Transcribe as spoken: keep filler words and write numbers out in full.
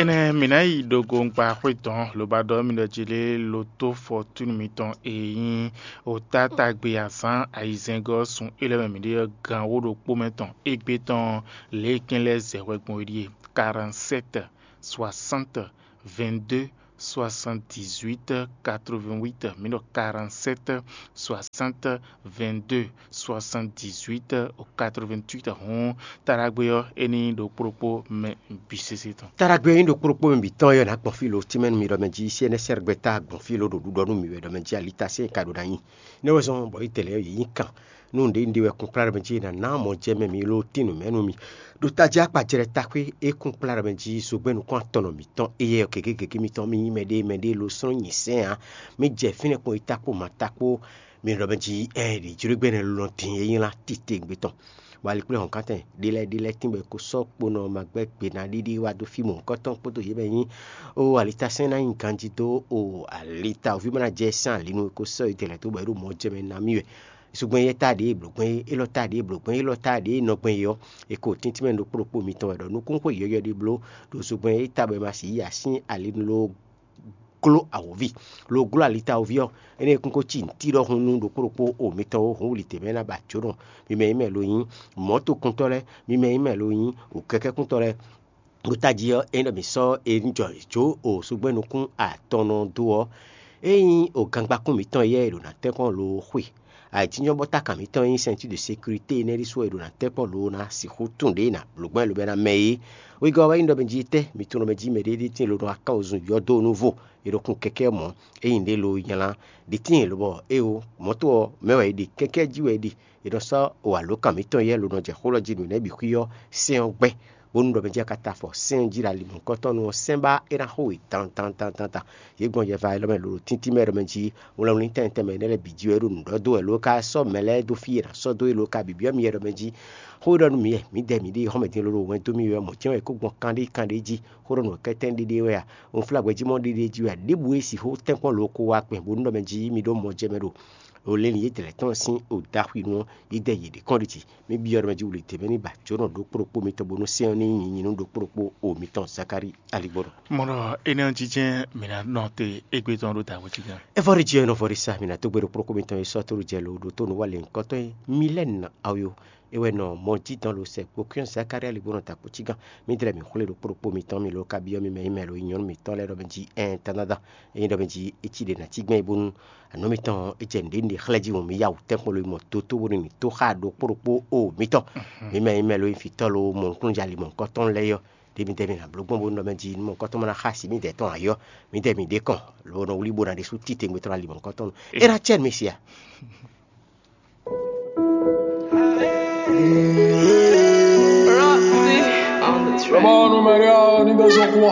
Énɛ́ mǐ ná yi ɖo gongba xwé dɔn loba ɖɔ mì ɖɔ jí lé loto fɔtúnu mitɔn e nyí otáta gbe azǎn ayizɛ́ngɔ́ sun élɔ́ mɛ mǐ ɖe ɔ́ gan wó ɖokpó mɛ tɔn égbé tɔn lě e kɛn lɛ́ɛ zɛ hwɛ gbɔn é ɖíe: quarante-sept soixante vingt-deux soixante-dix-huit quatre-vingt-huit. Mǐ ɖɔ quarante-sept soixante vingt-deux soixante-dix-huit quatre-vingt-huit. Hǔn taɖagbe ɔ́ é ní ɖo kplɔ́kpó mɛ bǐ sésé tɔn. Taɖagbe ɔ́ nyí ɖo kplɔ́kpó mɛ bǐ tɔn ɔ́ ná gbɔn fí lo tínmɛ nú mi ɖɔ mɛ jí sɛ́nɛ́ sɛ́rɛgbɛ tá gbɔn fí lo ɖo ɖuɖɔ nú mi wɛ ɖɔ mɛ jí alitá sɛ́n ka ɖo ná nyi. Nɛ́ wɛ zɔn bɔ yí tɛlɛ ɔ́ yě nyí kan nú nǔɖé nǔɖé wɛ kún kplá ɖɔ mɛ jí è nǎ ná mɔ jɛ mɛ mi lo tín nǔ mɛ nú mi. Ɖo tají akpajlɛ taxwé é kún kplá ɖɔ mɛ jí zogbɛ́n nukún atɔn nɔ mǐtɔn éyɛ́ ɔ́ gěgé gěgé mitɔn mì nyí mɛɖé mɛɖé lo slɔ́n nyi sɛ́n ǎ. Mì jɛ fínɛ́ kpɔn yi ta kpó ma ta kpó. Mi ɖɔ mɛ jí ɛ ɖě jló gbɛ́nɛ lɔn din e nyí lá titewungbe tɔn. Bɔ ali kplé hɔ̌nkántɛn ɖé lɛ́ɛ ɖé lɛ́ɛ tínbɔ è ko sɔ́ kponɔ magbɛ́ gbe ná ɖiɖi wá dó fí mɔ̌hunkɔtɔn kpódó yě mɛ nyí ó alitá sɛ́n ná nyi ganjí dó o alita òví ma ná jɛ sɛ́n alinu e ko sɔ́ yi dɛlɛ dó bɔ é ɖo mɔ̌ jɛ mɛ ná mì wɛ. Sugbɛ́n yɛ tá ɖě blǒgbɛ́n é, élɔ́ tá ɖě blǒgbɛ́n é, élɔ́ tá ɖě nɔgbɛ́n é ɔ́, è ko tíntín mɛ ɖokpó ɖokpó mitɔn wɛ ɖɔ nukúnxó yɔ̌yɔ́ ɖé bló ɖo sugbɛ́n e é ta bɔ è ma sixú yi asín ali ló gló awǒvi, ló gló alitawǒvi ɔ́, énɛ́ kún ko cí nǔtí ɖɔhun nú ɖokpó ɖokpó o mitɔn ó, hǔn wlǐ tɛnmɛ ná ba jǒnɔ. Mi mɛ nyí mɛ lo nyí mɔ̌tokuntɔ́ lɛ́ɛ, mi mɛ nyí mɛ lo nyí wǔkɛ́kɛ́kuntɔ́ lɛ́ɛ. Ɖo tají ɔ́, ényí ɖɔ mǐ sɔ́ e jɔ jó o sugbɛ́ nukún atɔn nɔ dó ɔ́, é nyí o gangbakún mǐtɔn yɛ́ e ɖo ná tɛ́nkpɔ́n lo xwe. Ayǐjínjɔ́n bɔ tákan mǐtɔn e nyí ceinture de sécurité énɛ́ ɖésú wɛ è ɖo ná tɛ́nkpɔ́n lo ná sixú tún ɖě ná blǒgbɛ́n lobo ná mɛ é. Wegɔ́ ɔ́ wɛ nyí ɖɔ mɛ jí tɛ́ mi tunwun ɖɔ mɛ jí mɛɖé ɖi tín lo nɔ aká wozun yɔ́ dó nú vo, è ɖo kun kɛkɛ́ mɔ̌, ényí ɖě lo nylá ɖi tíin lobɔ éwo mɔ̌to ɔ́ mɛ wɛ è ɖe, kɛkɛ́ jí wɛ è ɖe. È nɔ sɔ́ o alǒkan mǐtɔn yɛ́ lo nɔ jɛ xó lɔ jí nǔ nɛ́ bǐ xwí ɔ́ sɛ́n ɔ́ gbɛ́, bónú ɖɔ mɛ jí a ka ta afɔ sɛ́n ɔ́ jí ɖo ali mɔ̌hunkɔtɔn nú ɔ́ sɛ́n ba é ná xo we dan dan dan dan dan. Yě gbɔn yɛ va élɔ́ mɛ lǒ ɖo tíntín mɛ ɖɔ mɛ jí wlɛnwlɛn tɛnmɛ tɛnmɛ énɛ́ lɛ́ɛ bǐ jí wɛ é ɖo nǔ ɖɔ dó wɛ ló ka sɔ́ mɛ lɛ́ɛ dó fí e è nǎ sɔ́ dó é ló ka bǐbyɔ́ mi yɛ ɖɔ mɛ jí. Xó e ɖɔ nú mi wɛ mǐdɛɛ mǐ ɖe xɔ́mɛdín ló ɖo wɛn dó mì wɛ mɔ̌ jɛ́n wɛ é kó gbɔn kanɖé kanɖé jí, xó ɖɔ nǔ kɛ́tɛ́n ɖéɖé wɛ a? Unflágbɛjí mɔ ɖéɖé jí wɛ a? Ɖěbǔ e sixú tɛ́nkpɔ́n lǒ ko wá kpɛn bónú ɖɔ mɛ jí mi ɖó mɔ jɛ mɛ ɖo o lě lǐn yětɛn lɛ́ɛ tɔn sín o daxwinu ɔ́, yi dɛ yě ɖě kɔn ɖi jí. Mi byɔ́ ɖɔ mɛ jí wǔ lě tɛnmɛ ní ba jǒnɔ ɖokpó ɖokpó mitɔn bónú sɛ́n ɔ́ ní nyí nyinú ɖokpó ɖokpó o mitɔn Zakári aligbɔnɔ. Mɔ ɖɔ énɛ́ ɔ́ jínjɛ́n mǐ ná nɔ te égbé tɔn ɖó dǎwe jí gán. Evɔ́ɖi jí ɔ́ nɔ vɔ ɖi sa mǐ ná dó gbe ɖokpó ɖokpó mitɔn e sɔ́ tóɖu jɛ lo ɖo tó nǔ wa lěhunkɔtɔn e Milɛ́nu Awio é wɛ nɔ mɔ jí dɔn lo sɛ kpokúnyɔ Zakári aligbɔnɔ ta kpo cí gán. Mi dlɛ́ mi xwlé ɖokpó ɖokpó mitɔn mi lo ka byɔ́ mi mɛ nyí mɛ lo nyí nyɔ̌nu mitɔn lɛ́ɛ ɖɔ mɛ jí ɛn tánádán. Ényí ɖɔ mɛ jí é cí ɖě ná cí gbɛn bónú anɔ̌ mitɔn ɔ́, é jɛ nǔɖé nǔɖé xlɛ́ jí hǔn mi yá wǔ tɛ́nkpɔ́n lo yi mɔ dótó bónú mi tó xá ɖokpó ɖokpó o mitɔn. Mi mɛ nyí mɛ lo nyí fǐtɔ́ lo mɔ nukúnnú jalí mɔ̌hunkɔtɔn lɛ́ɛ ɔ́, ɖě mi dɛ mi nǎ bló gbɔn bónú ɖɔ mɛ jí nú mɔ̌hunkɔtɔn ma ná xá asi mi dɛ tɔn ayɔ, mi dɛ mi ɖě kɔn lo nɔ wlí bó ná ɖésú títewungbe tɔn ná li mɔ̌hunkɔtɔn nú é ná cɛ mi sia. Roxy on the track.